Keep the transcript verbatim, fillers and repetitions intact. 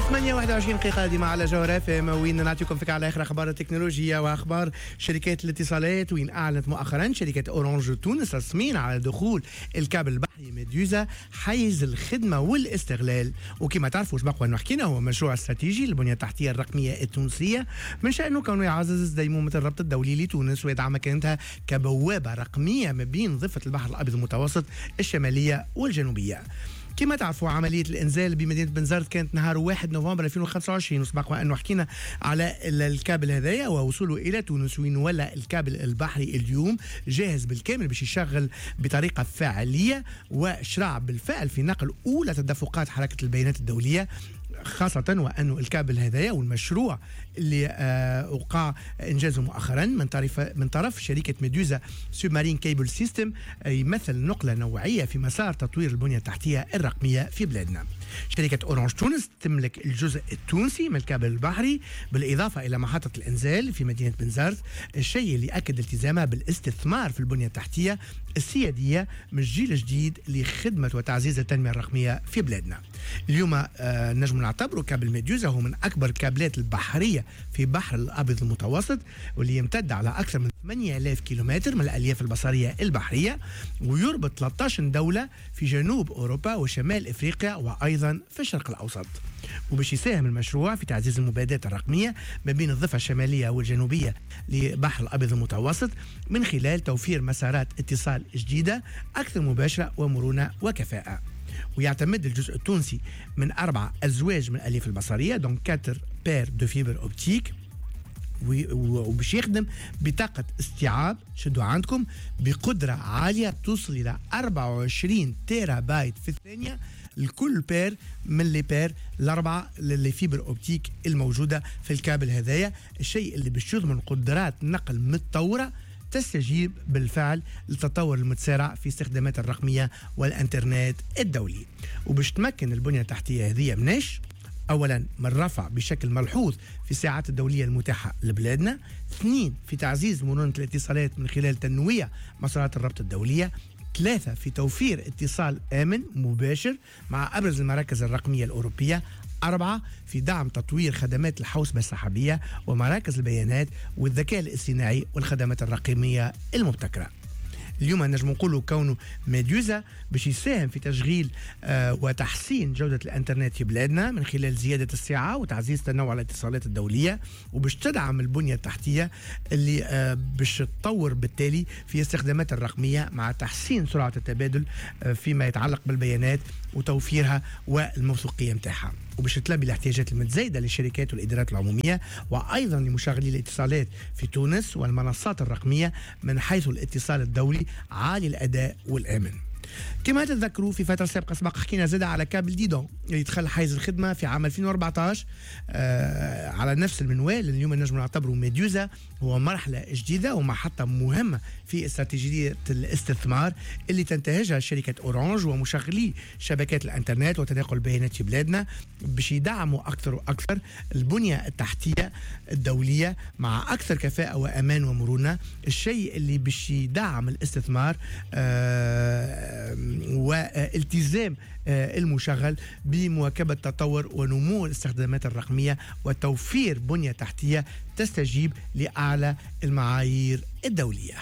ثمانية وواحد وعشرين دقيقة ديما على جوهرة اف ام، وين نعطيكم فكرة على آخر أخبار التكنولوجيا وأخبار شركات الاتصالات. وين أعلنت مؤخرا شركة أورانج تونس رسميا على دخول الكابل البحري ميدوزا حيز الخدمة والاستغلال. وكما تعرفوا سبق وأنه حكينا هو مشروع استراتيجي للبنية التحتية الرقمية التونسية، من شأنه كونه يعزز ديمومة الربط الدولي لتونس ويدعم مكانتها كبوابة رقمية ما بين ضفة البحر الأبيض المتوسط الشمالية والجنوبية. كما تعرفوا عملية الإنزال بمدينة بنزرت كانت نهار واحد نوفمبر ألفين وخمسة وعشرين، وسبق وأنه حكينا على الكابل هذايا ووصوله إلى تونس، وين ولا الكابل البحري اليوم جاهز بالكامل باش يشغل بطريقة فعالية، وشرع بالفعل في نقل أولى تدفقات حركة البيانات الدولية، خاصة وأنه الكابل هذايا والمشروع اللي آه وقع إنجازه مؤخرا من طرف من طرف شركة ميدوزا Submarine Cable System يمثل نقلة نوعية في مسار تطوير البنية التحتية الرقمية في بلادنا. شركة أورانج تونس تملك الجزء التونسي من الكابل البحري بالإضافة إلى محطة الإنزال في مدينة بنزرت، الشيء اللي أكد التزامها بالاستثمار في البنية التحتية السيادية من الجيل الجديد لخدمة وتعزيز التنمية الرقمية في بلادنا. اليوم آه نجم نعتبره كابل ميدوزا هو من أكبر الكابلات البحرية في بحر الأبيض المتوسط، واللي يمتد على أكثر من ثمانية آلاف كيلومتر من الألياف البصرية البحرية، ويربط ثلاثة عشر دولة في جنوب أوروبا وشمال إفريقيا وأيضا في الشرق الأوسط. وباش يساهم المشروع في تعزيز المبادلات الرقمية ما بين الضفة الشمالية والجنوبية لبحر الأبيض المتوسط من خلال توفير مسارات اتصال جديدة أكثر مباشرة ومرونة وكفاءة. ويعتمد الجزء التونسي من أربعة أزواج من الألياف البصرية، donc quatre paires de fibres optiques، وباش يخدم بطاقة استيعاب شدوا عندكم بقدرة عالية توصل إلى أربعة وعشرين تيرا بايت في الثانية لكل paire من les paires الأربعة les fibres optiques الموجودة في الكابل هذايا، الشيء اللي باش يضمن قدرات نقل متطورة تستجيب بالفعل للتطور المتسارع في استخدامات الرقمية والإنترنت الدولي. وباش تمكن البنية التحتية هذه مناش أولا من رفع بشكل ملحوظ في الساعات الدولية المتاحة لبلادنا، اثنين في تعزيز مرونة الاتصالات من خلال تنويع مسارات الربط الدولية، ثلاثة في توفير اتصال آمن مباشر مع أبرز المراكز الرقمية الأوروبية، أربعة في دعم تطوير خدمات الحوسبة السحابية ومراكز البيانات والذكاء الاصطناعي والخدمات الرقمية المبتكرة. اليوم نجم نقولوا كونه ميدوزا باش يساهم في تشغيل آه وتحسين جودة الانترنت في بلادنا من خلال زيادة السعة وتعزيز تنوع الاتصالات الدولية، وباش تدعم البنية التحتية اللي آه باش تطور بالتالي في استخدامات الرقمية مع تحسين سرعة التبادل آه فيما يتعلق بالبيانات وتوفيرها والموثوقية متاعها، وباش تلبي الاحتياجات المتزايدة للشركات والإدارات العمومية وأيضا لمشغلي الاتصالات في تونس والمنصات الرقمية من حيث الاتصال الدولي عالي الأداء والآمن. كما تتذكروا في فترة سابقة سبق حكينا زاد على كابل ديدون اللي دخل حيز الخدمة في عام ألفين وأربعة عشر آه على نفس المنوال. اليوم نجم نعتبره ميدوزا هو مرحلة جديدة ومحطة مهمة في استراتيجية الاستثمار اللي تنتهجها شركة أورانج ومشغلي شبكات الانترنت وتناقل البيانات في بلادنا باش يدعموا أكثر وأكثر البنية التحتية الدولية مع أكثر كفاءة وأمان ومرونة، الشيء اللي باش يدعم الاستثمار آه والتزام المشغل بمواكبة تطور ونمو الاستخدامات الرقمية وتوفير بنية تحتية تستجيب لأعلى المعايير الدولية.